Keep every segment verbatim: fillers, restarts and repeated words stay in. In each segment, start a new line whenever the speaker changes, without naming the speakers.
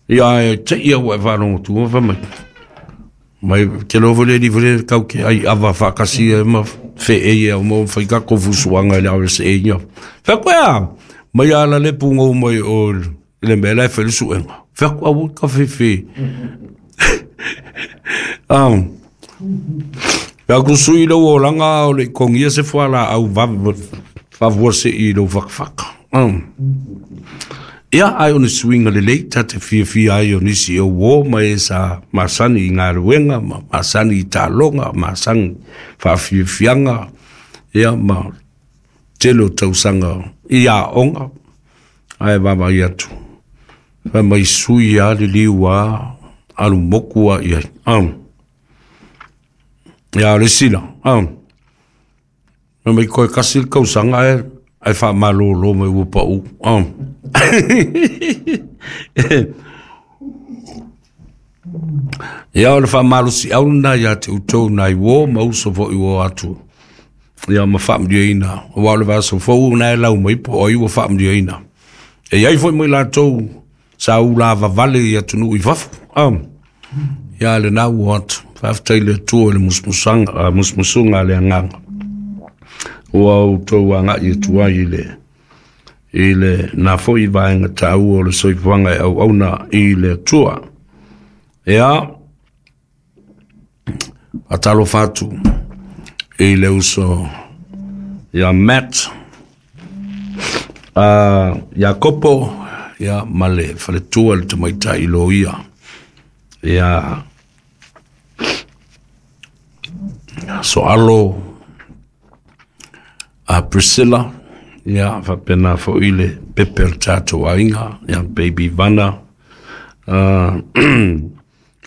Ia e te ia ua e whārongo tu, wha mai. Mai te lovo le li vele kau ke ai ava whakasi e ma whe e ia o mo whai ka kofusuanga i le R S A ia. Wha koe a, mai ala le pungo mai o le mea lai whele suenga. Wha koe a ka whe whe. Um, Wha ku sui le o langa o le kongia se whala au wavua se i lo whakawhaka. Um. Ia ai o ni suinga le lei, ta te fia fia ai o nisi o wō mai e sa masani i ngā ruenga, ma masani i tālonga, masani whawhiawhianga, ia ma telo tausanga i a onga, ai wawa i atu. Wha mai sui a le liu a, alu moku a ia. Um. Ia le sila. Um. Wha mai koe kasi le kausanga e, ai wha malolo mai upa u. Um. Ia o le wha si au na ia te utou nai wō, ma uso fo i wō atu. Ia ma wha ina. O wā le vaso fō nai lau mai po o iwa wha ina. E iai fo mai lātou sa ula vavale i atunu i wafu. Um. Ia le nā ua atu. Whaftai le tua le musmusanga, musmusunga le anganga. Ua utou anga i tua i le i le nā foi vaenga tāua o le soifuanga e au auna i le tua. Ea, atalo whatu i le uso ia Matt, uh, ia Kopo, ia male whaletua le tamaita i lo ia. Ia Soalo, a Priscilla, ia whapena fo i le pepe o tātou ainga, ia baby Vana, uh,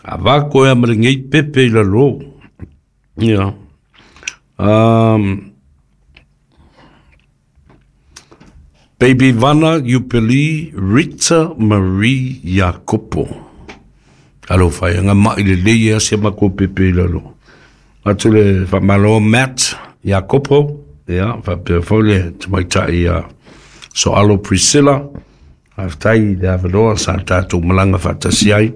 a wako ea mare ngei pepe i la lo. Ia. Um, baby Vana Yupeli Rita Marie Iakopo. Alo whai, nga mai le lei ea se mako pepe i la lo. Atu le whamalo Matt Iakopo, ia, whapea fole te maitai ia Soalo Priscilla, whaftai le awanoa sa tātou malanga whatasi ai,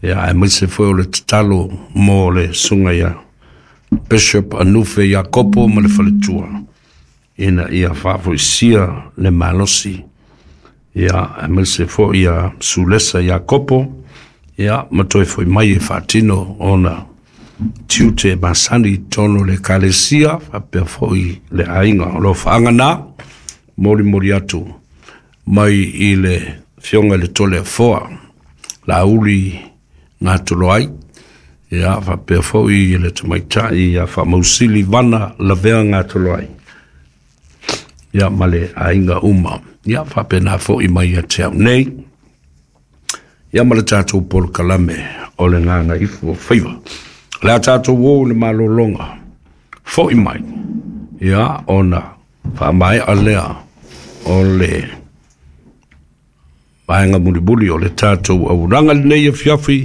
ia, e maise foe o le tatalo mō le sunga ia Bishop Anufe Iakopo ma le whaletua. Ina ia whaafoisia le malosi, ia, e maise foe ia Sulesa Iakopo, ia, matoe foi mai e whatino ona tiute masani tono le kalesia, whapea foi le ainga. O lo whaanga nā, mori mori atu, mai i le fionga le tole foa, la uli ngā tolo ai, ia, whapea foi le tamaitai, ia whamausili vana lavea ngā tolo ai. Ia, ma le ainga uma. Ia, whapea nā foi mai a te au nei, ia ma le tātou polokalame o le ngānga ifu o whaiwa. Le a tātou wō le malolonga, foi mai, ia ona whaamai a lea o le vaenga mulimuli o le tātou auranga nei e fiafi,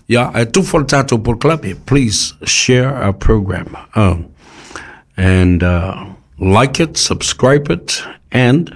ia e tufa le tātou polokalame. Please share our program, um, and uh, like it, subscribe it, and